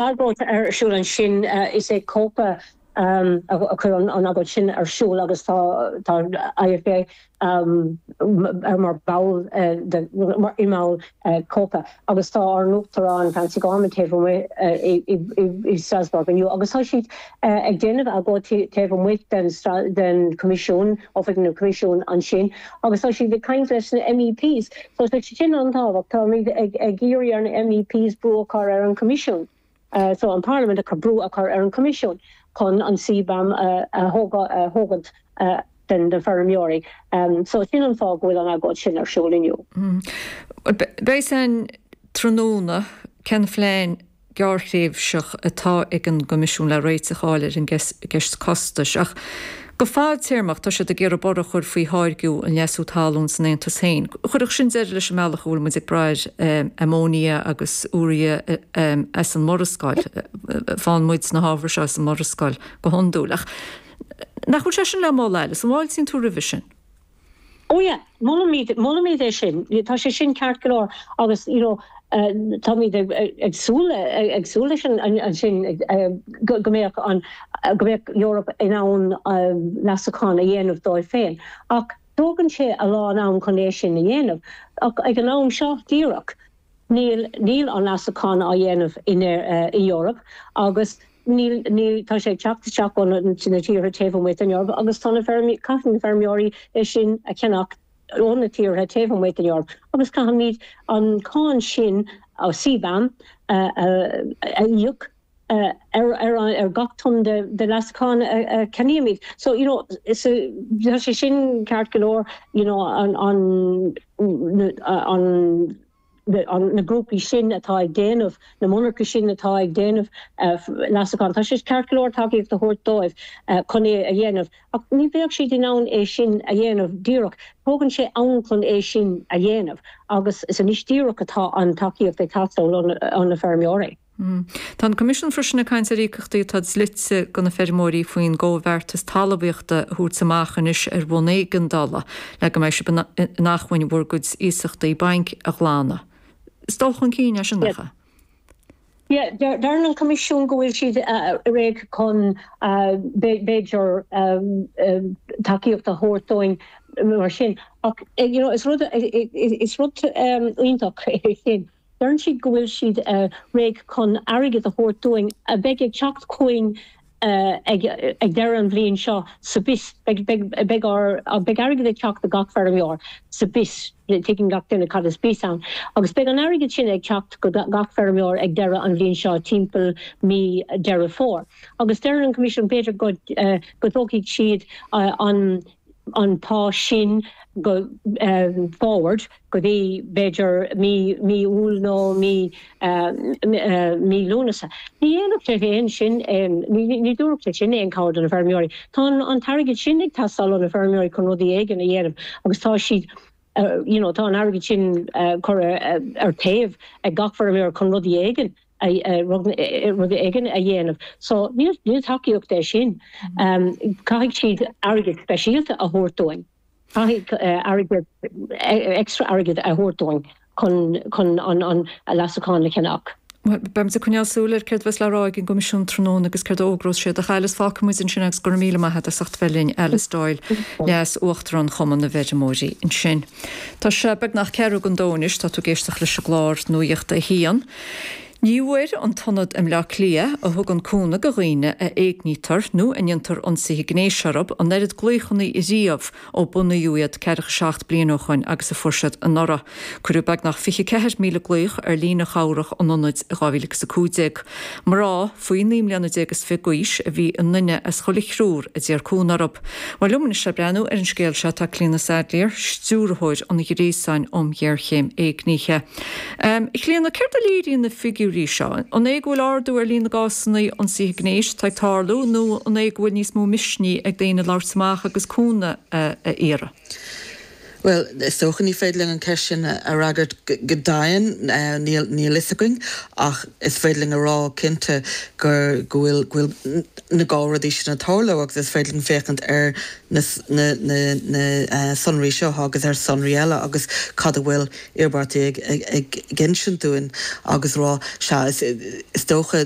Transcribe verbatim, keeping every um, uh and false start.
Agóid ar siúl ansin is é COPA a chuir an agóid sin ar siúl agus tá tá IFA ar mar ball mar i mball COPA agus tá ár n-uachtarán Francie Gorman taobh amuigh i Strasbourg inniu agus tá siad ag déanamh agóid taobh amuigh den den Coimisiún oifig na Coimisiún ansin agus tá siad ag caint leis na MEPs so tá sin an-tábhachtach táimid ag ag iarraidh ar na MEPs brú a chur ar an Coimisiún. Uh, so an Parlaimint a brú a chur ar an Coimisiún chun an CBAM uh, a thógaint uh, den de feirmeoirí. Um, so sin an fáth go bhfuil an agóid sin ar siúl inniu. Mm. Beidh an tráthnóna cén phlean gearrthréimhseach atá ag an gCoimisiún le réiteach a fháil ar an gceist costais ach go fadtéarmach tá siad ag iarraidh borradh a chur faoi tháirgeadh an leasú talún san Aontas féin. Chuirfeadh sin deireadh leis an mbealach a bhfuil muid ag brath amóinia agus úiria as an Murascaill faigheann muid na hábhair seo as an Murascaill go hiondúil. Ach nach bhfuil sé sin le moladh Alice, an bhfáiltíonn tú roimhe sin? Oh yeah, molaimid molaimid é sin tá sé sin ceart go leor agus you know uh, táimid ag súil ag súil leis an sin go mbeadh an go mbeadh Europe in ann uh, leasachán a dhéanamh dóibh féin. Ach tógann sé a lán am chun é sin a dhéanamh ach ag an am seo díreach. Níl níl an leasachán á dhéanamh in uh, i Europe agus níl níl tá sé teacht isteach ó na tíortha taobh amuigh den Eoraip agus tá na caithfidh na feirmeoirí é sin a cheannach ó na tíortha taobh amuigh den Eoraip agus caithfimid an cáin sin ó CBAM a íoc ar ar ar gach ton de de leasachán a cheannaímid. So you know so tá sé sin ceart go leor you know an an an an na grúpaí sin atá ag déanamh na monarcha sin atá ag déanamh leasachán. Tá sé ceart go leor tacaíocht a thabhairt dóibh chun é a dhéanamh. Ach ní bheadh siad in ann é sin a dhéanamh díreach. Tógann sé am chun é sin a dhéanamh agus is anois díreach atá an tacaíocht ag teastáil ó na feirmeoirí. Mm. Tá an Coimisiún freisin ag caint ar íocaíochtaí atá dlite go na feirmeoirí faoin gcomhbheartas talmhaíochta a thabhairt amach anois ar bhonn éigeandála le go mbeidh sibh in acmhainn bhur gcuid iasachtaí bainc a ghlanadh. Is dul chun cinn é sin nach ea? Yeah, deir an Coimisiún go bhfuil siad réidh chun b'fhéidir tacaíocht a thabhairt dúinn mar sin. Ach you know, is rud is rud iontach é sin. Deireann siad go bhfuil siad réidh chun airgead a thabhairt dúinn a bheidh ag teacht chugainn ag ag deireadh an bhliain seo sa bis beidh beidh airgead ag teacht do gach feirmeoir sa bis tuigeann gach duine cad is bis ann. Agus beidh an airgead sin ag teacht go gach feirmeoir ag deireadh an bhliain seo timpeall mí Deireadh Fómhair. Agus deir an Coimisiún b'fhéidir go go dtógfaidh siad an an pá sin go um, forward go dtí b'fhéidir mí mí Iúil nó mí uh, uh, mí Lúnasa. Ní dhéanfadh sé féin sin ní dúirt sé sin aon cabhair do na feirmeoirí. Tá an t-airgead sin ag teastáil ó na feirmeoirí chun rudaí éigin a dhéanamh agus tá siad uh, you know, tá an airgead sin uh, chur uh, ar taobh ag gach feirmeoir chun rudaí éigin rud éigin a dhéanamh. So níl níl tacaíocht é sin. Um, caithfidh siad airgead speisialta a thabhairt dúinn. Caithfidh airgead extra airgead a thabhairt dúinn chun chun an an leasachán a cheannach. Beimid ag coinneáil súil ar céard a bheas le rá ag an gCoimisiún tráthnóna agus céard a fhógrós siad ach Alice fágfaimid ansin agus go raibh míle maith agat as ucht bheith linn Alice Doyle leas uachtarán Chumann na bhFeirmeoirí ansin. Tá sé beagnach ceathrú don dó anois tá tú ag éisteacht leis an gclár Nuacht a haon. Ní bhfuair an tIonad i mBleá Cliath a thugann cúnamh do dhaoine a éignítear nó a ndéantar ionsaithe gnéis orthu an oiread glaochanna riamh ó bunaíodh iad ceathracha seacht bliain ó shin agus a fuair siad anuraidh. Cuireadh beagnach fiche ceathair míle glaoch ar líne chabhrach an ionaid i dhá mhíle agus a cúig déag. Mná faoi naoi mbliana déag is fiche d'aois a bhí i nduine as chuile thriúr a d'iarr cúnamh orthu. Bhuel liom anois le breathnú ar an scéal seo tá Clíona Saidléar, stiúrthóir an Ghréasáin um Ghéarchéim Éignithe. Um, Clíona, céard a léiríonn na figiúirí seo? An é go bhfuil ardú ar líon na gcásanna ionsaithe gnéis atá ag tarlú nó an é go bhfuil níos mó misnigh ag daoine labhairt amach agus cúnamh a, a iarraidh? Well, is dócha ní féidir linn an ceist sin a fhreagairt go deimhin níl níl fhios againn ach is féidir linn a rá cinnte gur go bhfuil go bhfuil na dhá rudaí sin ag tarlú agus is féidir linn féachaint ar na na na na sonraí seo agus ar sonraí eile agus cad a bhfuil iarmhairtí ag ag ag insint dúinn agus rá sea is is dócha